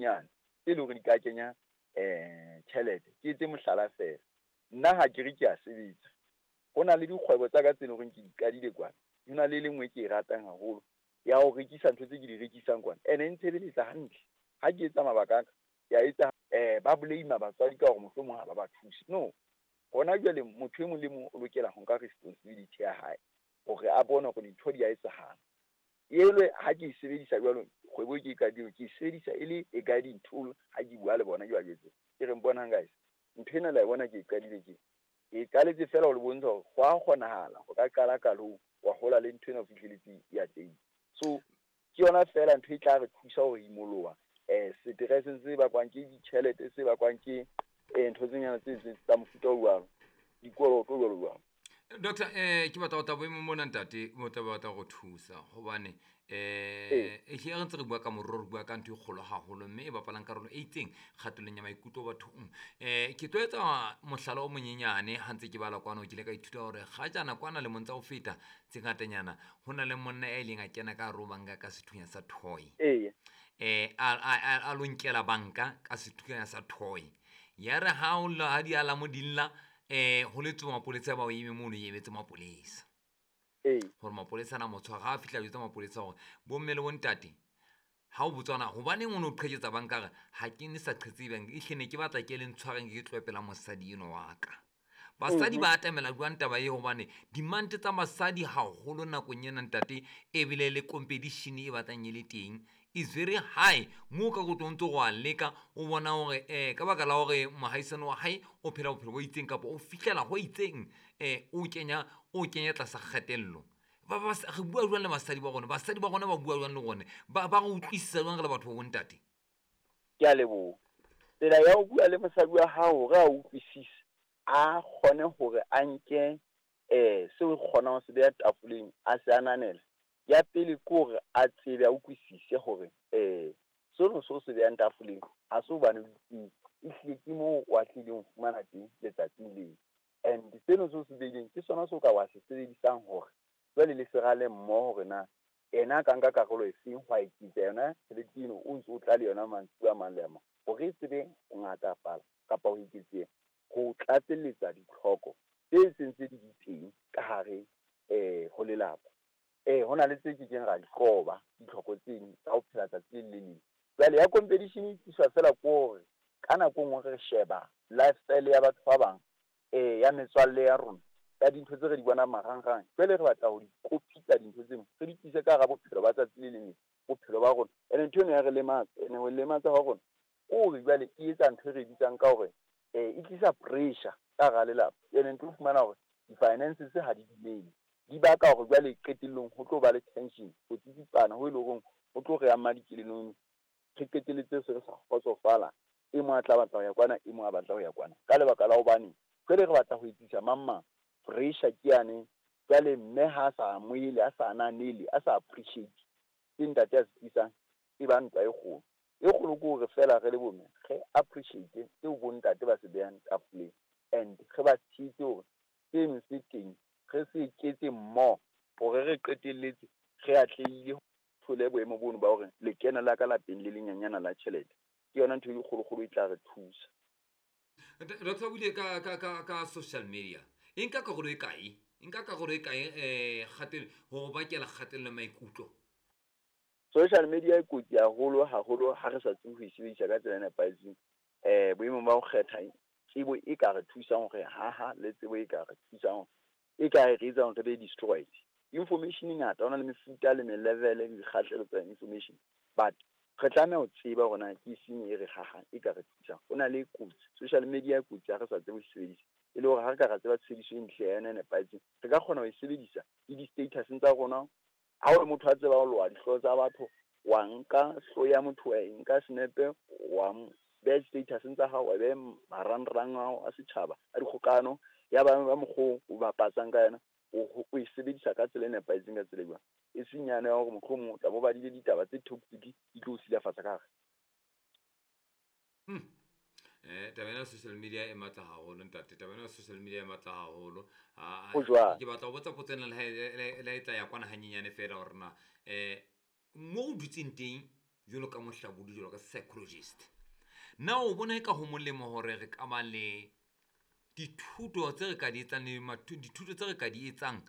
dinyenyane tse leng hore di ka kenya tjhelete. Ke etse mohlala feela, nna ha ke re ke a sebetsa, ho na le dikgwebo tsa ka tse leng hore ke di qadile kwana. Ho na le e le nngwe ke e ratang haholo ya ho rekisa ntho tse ke di rekisang kwana, ene e ntshebeletsa hantle. Ha ke etsa mabaka a ka, ke a etsa. Ba blame batswadi ka hore mohlomong ha ba ba thuse. No, hona jwale motho e mong le mong o lokela ho nka responsibility ya hae hore a bone hore dintho di a etsahala. Elwe ha ke e sebedisa jwalo, kgwebo e ke e qadileng, ke e sebedisa e le a guiding tool ha ke bua le bona, ke ba jwetse. Ke re, bonang guys, ntho ena la e bona ke e qadile tje. Ke e qaletse feela ho le bontsha hore ho a kgonahala ho ka qala qalong, wa hola le ntho ena ho fihleletse ya teng. So ke yona feela ntho e tla re thusa ho imoloha stress se bakwang ke ditjhelete, se bakwang ke ntho tse nyana tse tsa mofuta o jwalo, dikoloto jwalo jwalo. Doctor, ke batla ho tla boemong mona ntate, o tla batla go thusa hobane ehlile re ntse re bua ka moruo, re bua ka ntho e kgolo haholo mme e bapalang karolo e itseng kgatellong ya maikutlo bathong. Ke tlo etsa mohlala o monyenyane ha ntse ke bala kwano, ke ile ka ithuta hore kgajana kwana lemong tsa ho feta tse ngatanyana ho na le monna ya ileng a kena ka hare ho banka ka sethunya sa toy. A lo nkela banka ka sethunya sa toy. Ya re ha o lla, ha di alamo di lla, ho letswe mapolesa ba o eme mono, e emetse mapolesa. Hore mapolesa ana a mo tshwara, ha a fihla jwetsa mapolesa hore bomme le bontate, ha o botswana hobaneng o no qheketsa banka, re ha ke ne sa qhetse banka, ehlile ne ke batla ke le ntshwareng ke tlohe pela mosadi eno wa ka. Basadi ba atamela jwang taba e, hobane demand tsa basadi haholo nakong ena ntate, ebile le competition e batlang e le teng is very high. Moo ka go tlo ntse go a leka o bona hore ka baka la hore mohaisane wa hae o phela bophelo bo itseng kapa o fihlela ho itseng, o kenya tlasa kgatello. Re bua jwang le basadi ba rona? Basadi ba rona ba bua jwang le rona? Ba re utlwisisa jwang re le batho ba bontate? Ke a leboha. Tsela ya ho bua le mosadi wa hao hore a utlwisise, a kgone hore a nke seo kgonang ho se beha tafoleng, a se ananele. Ya pele ke hore a tsebe, a utlwisise hore seno seo se behang tafoleng ha se hobane o itsebe, ehlile ke moo o atlehileng ho fumana teng letsatsing leo. And seno seo se behileng ke sona seo ka wa se sebedisang hore jwale le se rale mmoho hore na ena a ka nka karolo efeng ho eketsa yona tjhelete eno o ntso o tla le yona mantsibuya a mang le a mang, hore e tsebe ho ngatafala kapa ho eketseha, ho tlatselletsa ditlhoko tse seng tse di teng ka hare ho lelapa. Ho na le tse kekeng ra di qoba, ditlhoko tseno tsa ho phela tsatsi le le leng. Jwale ya competition e tliswa feela ke hore ka nako e nngwe re sheba lifestyle ya batho ba bang, ya metswalle ya rona, ya dintho tse re di bonang marangrang. Jwale re batla ho di kopitsa dintho tseno, re di tlise ka hara bophelo ba tsatsi le leng, bophelo ba rona. Ene ntho eno ya re lematsa, ene ho lematsa ha rona ke hore jwale e etsa ntho e re bitsang ka hore e tlisa pressure ka hara lelapa. Ene ntlo fumana hore di-finances ha di dumele, di baka hore jwale qetellong ho tlo ba le tension, ho tsitsipana ho e leng hore ho tlo re ama dikelellong, re qetelletse se re sa kgotsofala. E mong a tla batla ho ya kwana, e mong a batla ho ya kwana, ka lebaka la hobane jwale re batla ho etsisa mang mang. Pressure ke yane. Jwale mme ha a sa amohele, a sa ananele, a sa appreciate ke ntate a se tlisang, e ba ntwa e kgolo. E kgolo ke hore feela re le bomme re appreciate seo bontate ba se behang tafoleng, and re ba tshehetse hore seno se teng, re se eketse mmoho hore re qetelletse re atlehile ho thole boemo bono ba hore lekeno la ka lapeng le lenyenyana la tjhelete. Ke yona ntho e kgolokgolo e tla re thusa. Doctor, o buile ka social media. E nka karolo e kae? E nka karolo e kae ho bakela kgatello ya maikutlo? Social media e kotsi haholo haholo ha re sa tsebe ho e sebedisa ka tsela e nepahetseng. Boemong ba ho kgetha tsebo e ka re thusang hore haha, le tsebo e ka re thusang, e ka re etsang re be destroyed. Information e ngata, ho na le mefuta le me-level le dikgahlelo tsa information, but re tlameha ho tseba hore na ke efeng e re hahang, e ka re thusang. Ho na le kotsi, social media e kotsi ha re sa tsebe ho e sebedisa, e le hore ha re ka ra tseba tshebediso e ntle ya yona e nepahetseng, re ka kgona ho e sebedisa le di-status-eng tsa rona. Ha o le motho a tseba ho loha dihlooho tsa batho, wa nka hlooho ya motho, wa e nka senepe, wa beha di-status-eng tsa hao, wa beha marangrang ao a setjhaba a dikgokano, ya ba ba mokgwa o bapatsang ka yona, o e sebedisa ka tsela e nepahetseng, ka tsela e jwang. E seng yane ya hore mohlomong o tla bo badile ditaba tse toxic di tlo o silafatsa ka hare. Taba ena ya social media e matla haholo ntate, taba ena ya social media e matla haholo. Ho jwang? Ke batla ho botsa potso ena le ha e tla ya kwana hanyenyane feela hore na mo o dutseng teng Jwalo ka mohlabodi, jwalo ka psychologist, na o bona e ka ho molemo hore re ka ba le dithuto tse re ka di etsang le dithuto tse re ka di etsang